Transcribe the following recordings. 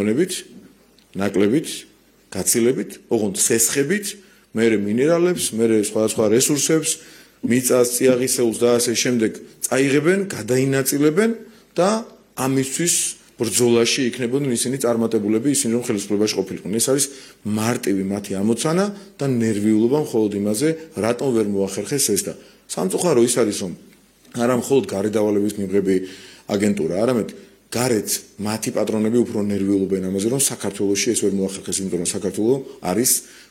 ნაკლებით, გაცილებით, ოღონდ სესხებით, მერე მინერალებს, მერე სხვადასხვა რესურსებს, მიწას, წიაღისეულს და ასე შემდეგ წაიღებენ, გადაინაწილებენ და ამისთვის ბრძოლაში იქნებოდნენ ისინი წარმატებულები, ისინი რომ ხელისუფლებაში ყოფილიყნენ. ეს არის მარტივი მათი ამოცანა და ნერვიულობა მხოლოდ იმაზე, რატომ ვერ მოახერხეს ეს და სამწუხარო ის არის, რომ არა მხოლოდ გარედავალების მიღები აგენტურა, არამედ გარეთ მათი პატრონები უფრო ნერვიულობენ ამაზე, რომ საქართველოში ეს ვერ მოახერხეს, იმიტომ რომ საქართველო არის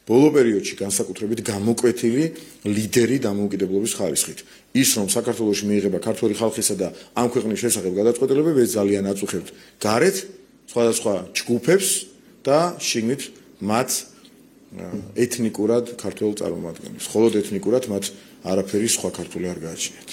ბოლო პერიოდში განსაკუთრებით გამოკვეთილი ლიდერი დამოუკიდებლობის ხარისხით. ის რომ საქართველოში მიიღება ქართული ხალხისა და ამ ქვეყნის შესახებ გადაწყვეტილებები, ეს ძალიან აწუხებთ გარეთ სხვადასხვა ჯგუფებს და შიგნით მათ ეთნიკურად ქართველ წარმომადგენლებს. მხოლოდ ეთნიკურად მათ არაფერი სხვა ქართული არ გააჩნიათ.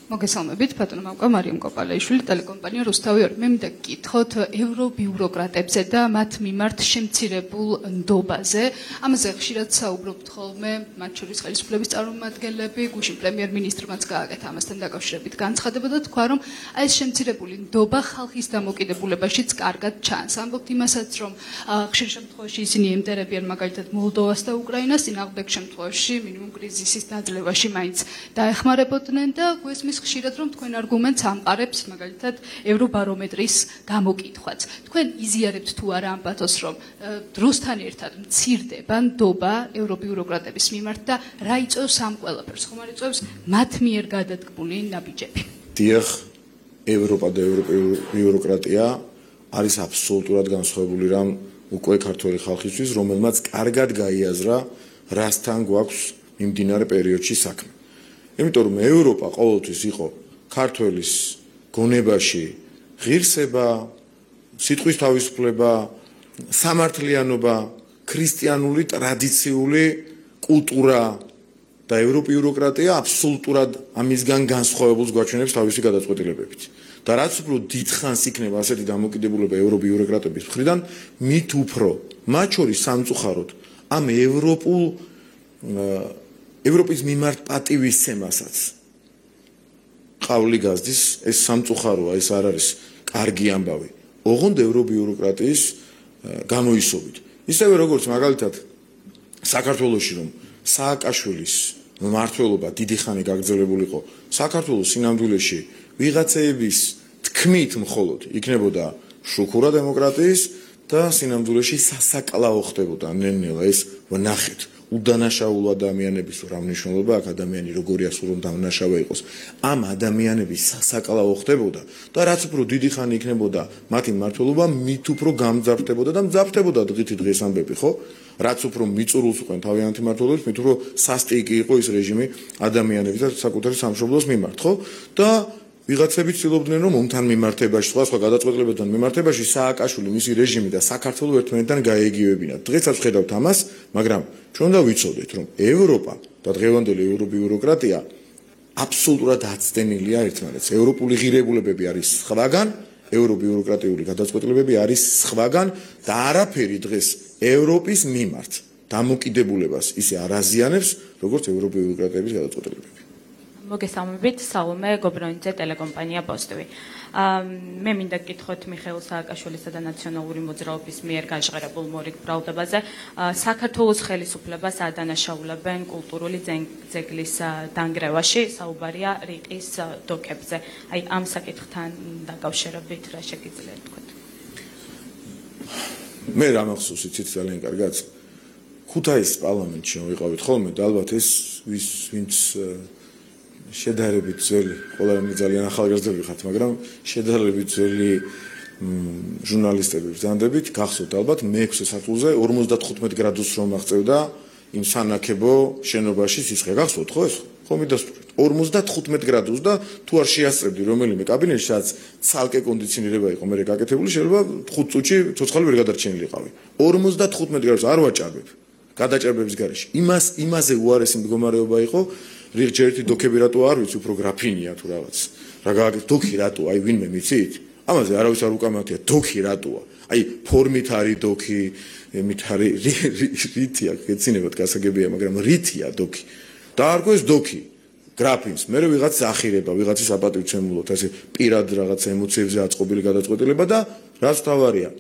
მოგესალმებით, ბატონო მამკა მარიამ კოპალაიშვილი, ტელეკომპანია რუსთავი 2. მე მინდა გკითხოთ ევრობიუროკრატებზე და მათ მიმართ შემცირებულ ნდობაზე. ამაზე ხშირად საუბრობთ ხოლმე, მათ შორის ხელისუფლების წარმომადგენლები, გუშინ პრემიერ-მინისტრმაც გააკეთა ამასთან დაკავშირებით განცხადება და თქვა, რომ ეს შემცირებული ნდობა ხალხის დამოკიდებულებაშიც კარგად ჩანს. ამბობთ იმასაც, რომ ხშირ შემთხვევაში ისინი ემტერებიან მაგალითად მოლდოვას და უკრაინას, წინააღმდეგ შემთხვევაში მინიმუმ კრიზისის დაძლევაში მაინც დაეხმარებოდნენ და გვესმის ხშირად რომ თქვენ არგუმენტს ამყარებს მაგალითად ევრობარომეტრის გამოკითხვაც. თქვენ იზიარებთ თუ არა ამ პათოსს, რომ დროსთან ერთად მცირდება ნდობა ევრობიუროკრატების მიმართ და რა იწვევს ამ ყველაფერს? ხომ არ იწვევს მათ მიერ გადადგმული ნაბიჯები? დიახ, ევროპა და ევრობიუროკრატია არის აბსოლუტურად განსხვავებული რამ უკვე ქართული ხალხისთვის, რომელმაც კარგად გაიაზრა, რასთან გვაქვს მიმდინარე პერიოდში საქმე. იმიტომ რომ ევროპა ყოველთვის იყო ქართველის გონებაში ღირსება, სიტყვის თავისუფლება, სამართლიანობა, ქრისტიანული ტრადიციული კულტურა და ევრობიუროკრატია აბსოლუტურად ამისგან განსხვავებულს გვაჩვენებს თავისი გადაწყვეტილებებით. და რაც უფრო დიდხანს იქნება ასეთი დამოკიდებულება ევრობიუროკრატების მხრიდან, მით უფრო მათ შორის სამწუხაროდ ამ ევროპის მიმართ პატივისცემასაც ყავლი გაზდის, ეს სამწუხაროა, ეს არ არის კარგი ამბავი. ოღონდ ევრობიუროკრატიის განოისობით. ისევე როგორც მაგალითად საქართველოში რომ სააკაშვილის მმართველობა დიდი ხანი გაგრძელებული იყო, საქართველოს სინამდვილეში ვიღაცეების თქმით მხოლოდ იქნებოდა შუქურა დემოკრატიის და სინამდვილეში სასაკლაო ხდებოდა ნელ-ნელა ეს ვნახეთ. უდანაშაულო ადამიანების რა მნიშვნელობა აქვს ადამიანი როგორია სულ რომ დამნაშავე იყოს ამ ადამიანების სასაკლაო ხდებოდა და რაც უფრო დიდი ხანი იქნებოდა მათი მმართველობა მით უფრო გამძაფრდებოდა და მძაფრდებოდა დღითი დღეს ამბები ხო რაც უფრო მიწურულს უყენ თავიანთი მმართველობის მით უფრო სასტიკი იყო ის რეჟიმი ადამიანების და საკუთარი სამშობლოს მიმართ ხო და ვიღაცები ცდილობდნენ რომ ომთან მიმართებაში სხვა გადაწყვეტილებებთან მიმართებაში სააკაშვილი მისი რეჟიმი და საქართველო ერთმანეთთან გაეგივებინათ. დღესაც ხედავთ ამას, მაგრამ ჩვენ უნდა ვიცოდეთ რომ ევროპა და დღევანდელი ევრობიუროკრატია აბსოლუტურად აცდენილია ერთმანეთს. ევროპული ღირებულებები არის სხვაგან, ევრობიუროკრატიული გადაწყვეტილებები არის სხვაგან და არაფერი დღეს ევროპის მიმართ დამოკიდებულებას ისე არ აზიანებს, როგორც ევრობიუროკრატების გადაწყვეტილებები. მოგესალმებით, სალომე გობრონიძე, ტელეკომპანია პოსტივი. მე მინდა გკითხოთ მიხეილ სააკაშვილისა და ნაციონალური მოძრაობის მიერ გაჟღერებულ მორიგ ბრალდებაზე. საქართველოს ხელისუფლებას არ დანაშაულებენ კულტურული ძეგლის დანგრევაში, საუბარია რიყის დოკებზე. აი ამ საკითხთან დაკავშირებით რა შეგიძლიათ თქვათ? მე რა მახსოვს იცით ძალიან კარგად. ქუთაისის პარლამენტში ვიყავით ხოლმე და ალბათ ეს ვინც შედარებით ძველი, ყველანი ძალიან ახალგაზრდები ხართ, მაგრამ შედარებით ძველი ჟურნალისტები ბრძანდებით, გახსოვთ ალბათ მე-6 სართულზე 55 გრადუსს რომ აღწევდა იმ სანაკებო შენობაში სიცხე. გახსოვთ ხო ეს? ხო მიდასტურეთ. 55 გრადუსს და თუ არ შეასწრებდი რომელიმე კაბინეტში, სადაც ცალკე კონდიციონირება იყო მე გაკეთებული, შეიძლება 5 წუთში ცოცხალი ვერ გადარჩენილიყავი. 55 გრადუსს არ ვაჭარბებ. გადაჭარბების გარეშე. იმაზე უარესი მდგომარეობა იყო. რიგჯერითი დოქები რატო არ ვიცი, უფრო გრაფინია თუ რაღაც. რა გააკეთე დოქი რატო? აი ვინმე მიცით? ამაზე არავის არ უკამათია დოქი რატოა? აი ფორმით არის დოქი, მით არის რითია, გეცინებათ გასაგებია, მაგრამ რითია დოქი. დაარქვეს დოქი. გრაფინს, მე ვიღაც ახირება, ვიღაცის აპატივცემულოთ, ასე პირად რაღაც ემოციებზე აწყობილი გადაწყვეტილება და რაც თავარია